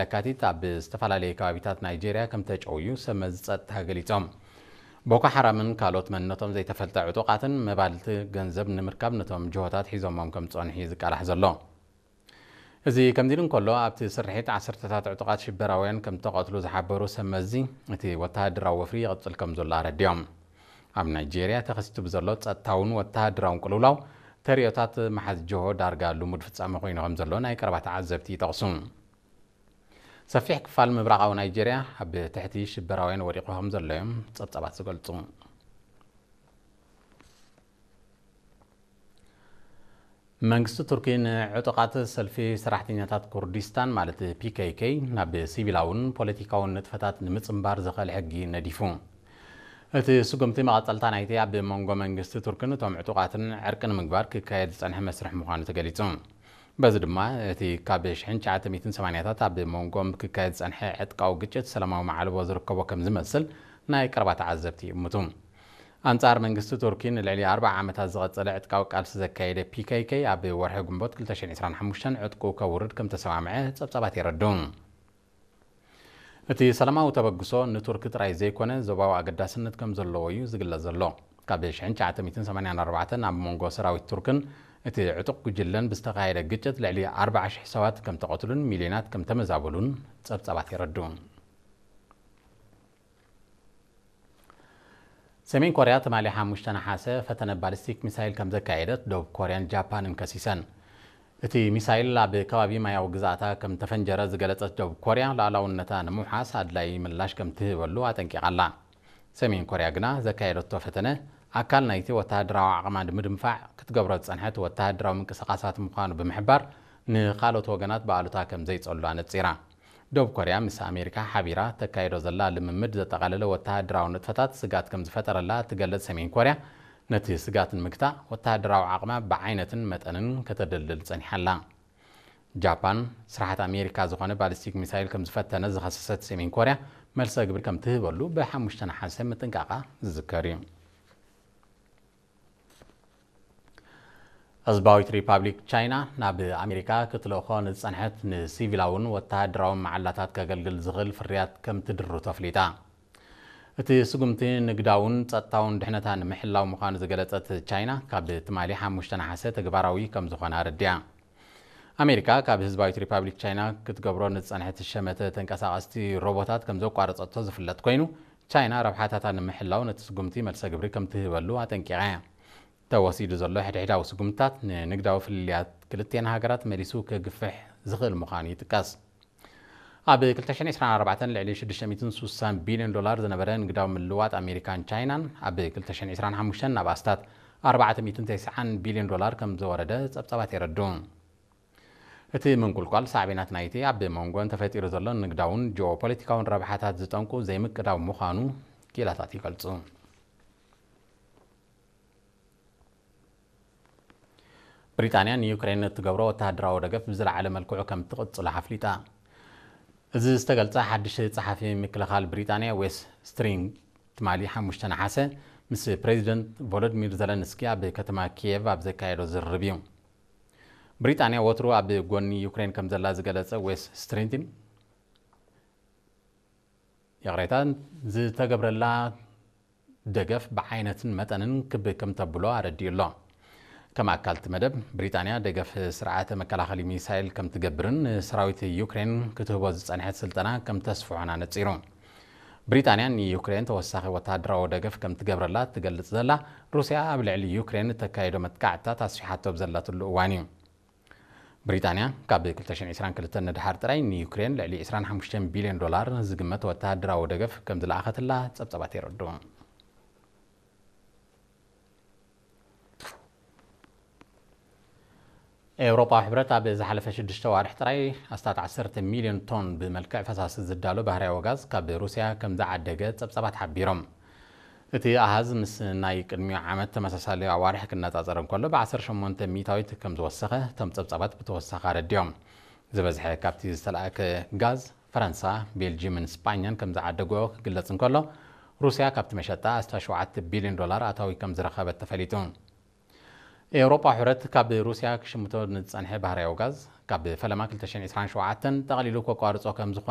ለካቲት ኣብ ዝተፈላለዩ ከባቢታት ናይጄርያ ከም ተጨውዩ ሰብ መዚ ጸጥታ ገሊጾም። ቦኮ ሓራምን ካልኦት መንነቶም ዘይተፈልጠ ዕጡቓትን መባልቲ ገንዘብ ንምርካብ ነቶም ጅሆታት ሒዞሞም ከም ዝጸንሑ እዩ ዝቃላሕ ዘሎ። እዚ ከምዚ ኢሉ እንከሎ፣ ኣብቲ ስርሒት ዓሰርተታት ዕጡቓት ሽበራውያን ከም ተቐትሉ ዝሓበሩ ሰብ መዚ፣ እቲ ወተሃደራዊ ወፍሪ ይቕጽል ከም ዘሎ ኣረዲኦም። ኣብ ናይጄርያ ተኸሲቱ ብዘሎ ጸጥታውን ወተሃደራውን ቅልውላው፣ ተርእዮታት መሓዝ ጅሆ ዳርጋ ልሙድ ፍጻመ ኮይኑ ከም ዘሎ ናይ ቀረባ ተዓዘብቲ ይጠቕሱ። ሰፊሕ ክፋል ምብራቓዊ ናይጄርያ ኣብ ትሕቲ ሽበራውያን ወዲቑ ከም ዘሎ እዮም ጸብጻባት ዝገልጹ። መንግስቲ ቱርኪ ንዕጡቓት ሰልፊ ሰራሕተኛታት ኩርዲስታን ማለት ፒ ኬ ኬ ናብ ሲቪላውን ፖለቲካውን ንጥፈታት ንምጽንባር ዘኽእል ሕጊ ነዲፉ። እቲ ስጉምቲ መቐጸልታ ናይቲ ኣብ መንጎ መንግስቲ ቱርክን እቶም ዕጡቓትን ዕርቂ ንምግባር ክካየድ ዝጸንሐ መስርሕ ምዃኑ ተገሊጹ። በዚ ድማ እቲ ካብ ሽሕን ትሽዓተ ሚእትን ሰማንያታት ኣብ መንጎኦም ክካየድ ዝጸንሐ ዕጥቃዊ ግጭት ሰላማዊ ማዕልቦ ዝርከቦ ከም ዝመስል ናይ ቀረባ ተዓዘብቲ ይእምቱ። ኣንጻር መንግስቲ ቱርኪ ንልዕሊ ኣርብዓ ዓመታት ዝቐጸለ ዕጥቃዊ ቃልሲ ዘካየደ ፒ ኬ ኬ ኣብ ወርሒ ግንቦት ክልተ ሽሕን ዕስራን ሓሙሽተን ዕጥቁ ከውርድ ከም ተሰማምዐ ጸብጻባት የረድኡ። እቲ ሰላማዊ ተበግሶ ንቱርኪ ጥራይ ዘይኮነ ዞባዊ ኣገዳስነት ከም ዘለዎ እዩ ዝግለጽ ዘሎ። ካብ ሽሕን ትሽዓተ ሚእትን ሰማንያን ኣርባዕተን ኣብ መንጎ ሰራዊት ቱርክን እቲ ዕጡቕ ጉጅለን ብዝተኻየደ ግጭት ልዕሊ ኣርብዓ ሽሕ ሰባት ከም ተቐትሉን ሚልዮናት ከም ተመዛበሉን ጸብጻባት የረድኡ። ሰሜን ኮርያ ትማሊ ሓሙሽተ ነሓሰ ፈተነ ባሊስቲክ ሚሳይል ከም ዘካየደት ደቡብ ኮርያን ጃፓንን ከሲሰን። እቲ ሚሳይል ኣብ ከባቢ ማያዊ ግዛእታ ከም ተፈንጀረ ዝገለጸት ደቡብ ኮርያ፣ ሉዓላውነታ ንምውሓስ ኣድላዪ ምላሽ ከም ትህበሉ ኣጠንቂቓ ኣላ። ሰሜን ኮርያ ግና ዘካየደቶ ፈተነ ኣካል ናይቲ ወተሃደራዊ ዓቕማ ንምድንፋዕ ክትገብሮ ዝጸንሐት ወተሃደራዊ ምንቅስቓሳት ምዃኑ ብምሕባር፣ ንኻልኦት ወገናት ብኣሉታ ከም ዘይጸሉ ኣነጺራ። ደቡብ ኮርያ ምስ ኣሜሪካ ሓቢራ ተካይዶ ዘላ ልምምድ ዘጠቓለለ ወተሃደራዊ ንጥፈታት ስጋት ከም ዝፈጠረላ እትገልጽ ሰሜን ኮርያ፣ ነቲ ስጋት ንምግታእ ወተሃደራዊ ዓቕማ ብዓይነትን መጠንን ከተደልድል ጸኒሓ ኣላ። ጃፓን፣ ስራሓት ኣሜሪካ ዝኾነ ባሊስቲክ ሚሳይል ከም ዝፈተነ ዝኸሰሰት ሰሜን ኮርያ፣ መልሰ ግብሪ ከም ትህበሉ ብሓሙሽተ ነሓሰ ምጥንቃቓ ዝዝከር እዩ። ህዝባዊት ሪፓብሊክ ቻይና ናብ ኣሜሪካ ክትልእኾ ንዝጸንሐት ንሲቪላውን ወተሃደራውን መዓላታት ከገልግል ዝኽእል ፍርያት ከም ትድርቶ ኣፍሊጣ። እቲ ስጉምቲ ንግዳውን ጸጥታውን ድሕነታ ንምሕላው ምዃኑ ዝገለጸት ቻይና፣ ካብ ትማሊ ሓሙሽተ ነሓሰ ተግባራዊ ከም ዝኾነ ኣረዲኣ። ኣሜሪካ ካብ ህዝባዊት ሪፓብሊክ ቻይና ክትገብሮ ንዝጸንሐት ሸመተ ተንቀሳቐስቲ ሮቦታት ከም ዘቋረጸቶ ዝፍለጥ ኮይኑ፣ ቻይና ረብሓታታ ንምሕላው ነቲ ስጉምቲ መልሰ ግብሪ ከም ትህበሉ ኣጠንቂቓ እያ። ተወሲዱ ዘሎ ሕድሕዳዊ ስጉምትታት ንንግዳዊ ፍልልያት ክልቲኤን ሃገራት መሊሱ ከግፍሕ ዝኽእል ምዃኑ ይጥቀስ። ኣብ ክልተ ሽሕን ዕስራን ኣርባዕተን ልዕሊ ሽዱሽተ ሚእትን ስሳን ቢልዮን ዶላር ዝነበረ ንግዳዊ ምልውዋጥ ኣሜሪካን ቻይናን፣ ኣብ ክልተ ሽሕን ዕስራን ሓሙሽተን ናብ ኣስታት ኣርባዕተ ሚእትን ተስዓን ቢልዮን ዶላር ከም ዝወረደ ጸብጻባት የረድኡ። እቲ ምንቁልቋል ሳዕቤናት ናይቲ ኣብ መንጎን ተፈጢሩ ዘሎ ንግዳውን ጂኦፖለቲካውን ረብሓታት ዝጠንቁ ዘይምቅዳው ምዃኑ ክኢላታት ይገልጹ። ብሪጣንያ ንዩክሬን እትገብሮ ወተሃደራዊ ደገፍ ብዝለዓለ መልክዑ ከም ትቕጽሎ ኣፍሊጣ። እዚ ዝተገልጸ ሓድሽ ጸሓፊ ምክልኻል ብሪጣንያ ዌስ ስትሪንግ ትማሊ ሓሙሽተ ነሓሰ ምስ ፕሬዚደንት ቮሎዲሚር ዘለንስኪ ኣብ ከተማ ኪየቭ ኣብ ዘካየዶ ዝርርብ እዩ። ብሪጣንያ ወትሩ ኣብ ጎኒ ዩክሬን ከም ዘላ ዝገለጸ ዌስ ስትሪንግ፣ ይቕሬታ፣ ዝተገብረላ ደገፍ ብዓይነትን መጠንን ክብ ከም ተብሎ ኣረዲኡ ኣሎ። ከም ኣካል እቲ መደብ፣ ብሪጣንያ ደገፍ ስርዓተ መከላኸሊ ሚሳይል ከም ትገብርን ንሰራዊት ዩክሬን ክትህቦ ዝጸንሐት ስልጠና ከም ተስፍሖን ኣነጺሩ። ብሪጣንያ ንዩክሬን ተወሳኺ ወተሃደራዊ ደገፍ ከም ትገብረላ ትገልጽ ዘላ፣ ሩስያ ኣብ ልዕሊ ዩክሬን እተካይዶ መጥቃዕትታት ኣስፊሓቶ ኣብ ዘላትሉ እዋን እዩ። ብሪጣንያ ካብ ክልተ ሽሕን ዕስራን ክልተን ንድሓር ጥራይ ንዩክሬን ልዕሊ ዕስራን ሓሙሽተን ቢልዮን ዶላር ዝግመት ወተሃደራዊ ደገፍ ከም ዝለኣኸትላ ጸብጻባት የረድኡ። ኤውሮጳዊ ሕብረት ኣብ ዝሓለፈ ሽዱሽተ ዋርሕ ጥራይ ኣስታት ዓሰርተ ሚልዮን ቶን ብመልክዕ ፈሳሲ ዝዳሎ ባህርያዊ ጋዝ ካብ ሩስያ ከም ዝዓደገ ጸብጻባት ሓቢሮም። እቲ ኣሃዝ ምስ ናይ ቅድሚኡ ዓመት ተመሳሳሊ ኣዋርሕ ክነጻጸር እንከሎ፣ ብዓሰርተ ሸሞንተ ሚእታዊት ከም ዝወሰኸ እቶም ጸብጻባት ብተወሳኺ ኣረዲኦም። ዝበዝሐ ካብቲ ዝተላእከ ጋዝ ፈረንሳ፣ ቤልጅየምን ስጳኛን ከም ዝዓደግኦ ክግለጽ እንከሎ፣ ሩስያ ካብቲ መሸጣ ኣስታት ሸውዓተ ቢልዮን ዶላር ኣታዊ ከም ዝረኸበት ተፈሊጡ። ኤውሮጳ ሕብረት ካብ ሩስያ ክሽምቶ ንዝጸንሐ ባህርያዊ ጋዝ ካብ ፈለማ ክልተ ሽሕን ዕስራን ሸውዓተን ጠቕሊሉ ከቋርጾ ከም ዝኾነ